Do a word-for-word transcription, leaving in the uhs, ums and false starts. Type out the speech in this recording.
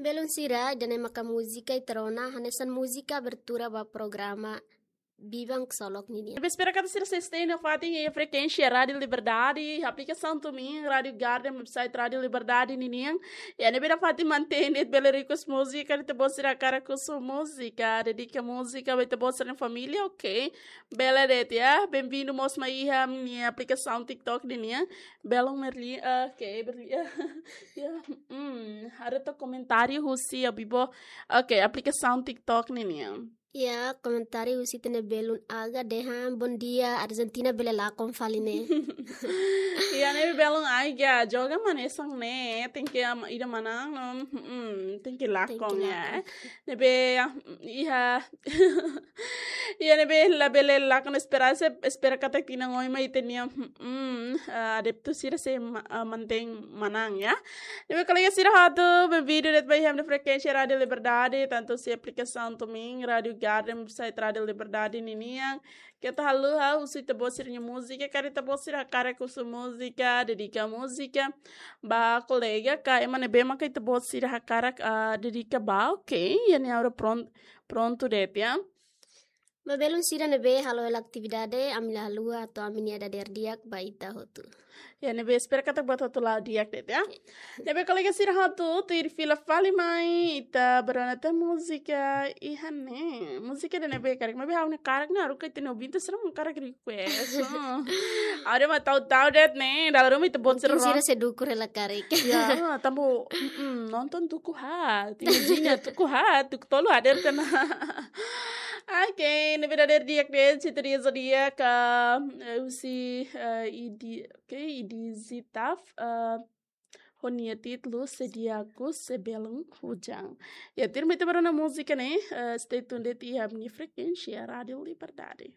Belun sira, ida-ne'e maka múzika ita rona, hanesan múzika abertura ba programa Biban Ksolok ninian. Ne'ebé espera katak sira sei stay nafatin iha frekuénsia Rádiu Liberdade, aplikasaun TuneIn, Rádiu Garden, website Rádiu Liberdade ninian. Iha ne'ebé nafatin mantein de'it, bele request múzika, ita-boot sira hakarak husu múzika, dedika múzika ba ita-boot sira-nia família, ok. Bele de'it, ya. Bem-vindo mós mai iha ami-nia aplikasaun TikTok ninian. Belun Merli, ok, Merli. Ya, hmm, haree to'ok komentáriu husi Abibo. Ok, aplikasaun TikTok ninian. Ya, komentáriu husi ita-nia belun Aga dehan, "Bom dia, Argentina bele lakon fali ne'e." Ya, ne'ebé belun Aga, joga hanesan ne'e, tenke am-, ida manán, no, hmm, tenke lakon, ya. Ne'ebé, ah, iha, iha ne'ebé labele lakon esperansa, espera katak tinan oin mai ita-nia, hmm, ah, adeptu sira sei ma-, ah, mantein manán, ya. Ne'ebé kolega sira hotu, bem-vindo de'it ba iha ami-nia frekuénsia Rádiu Liberdade, tantu husi aplikasaun TuneIn, Rádiu Garden, website Rádiu Liberdade ninian. Keta haluha husu ita-boot sira-nia múzika, karik ita-boot sira hakarak husu múzika, dedika múzika ba kolega ka ema ne'ebé maka ita-boot sira hakarak, ah, dedika ba, ok, iha ne'e agora pron-, prontu de'it, ya. Ba belun sira ne'ebé halo hela atividade, ami la haluha atu ami-nia dadeer di'ak ba ita hotu. Ya, ne'ebé espera katak buat hotu la'o di'ak de'it, ya. Ne'ebé kolega sira hotu, tuir fila fali mai, ita bá rona tan múzika iha ne'e. Múzika ida-ne'ebé karik, maibé ha'u-nia karik ne'e, haruka ita-nia ouvinte sira mak hakarak request. Hmm. Agora mak ta'uk-ta'uk de'it ne'e, dala ruma ita-boot sira. Mungkin sira ron- sei dukur hela karik. Ya, tanba, mm, nonton tuku haat, imajina tuku haat, tuku tolu hadeer tiha ona. Ok, ne'ebé dadeer di'ak de'it, sintonia di'ak, eh, husi, eh, Idi, ok, Idi Zitaf, eh, ho nia títulu Se Dia Ku Se Belun Hujan. Ya, tuirmai ita bá rona múzika ne'e, eh, stay tuned de'it iha ami-nia frekuénsia Rádiu Liberdade.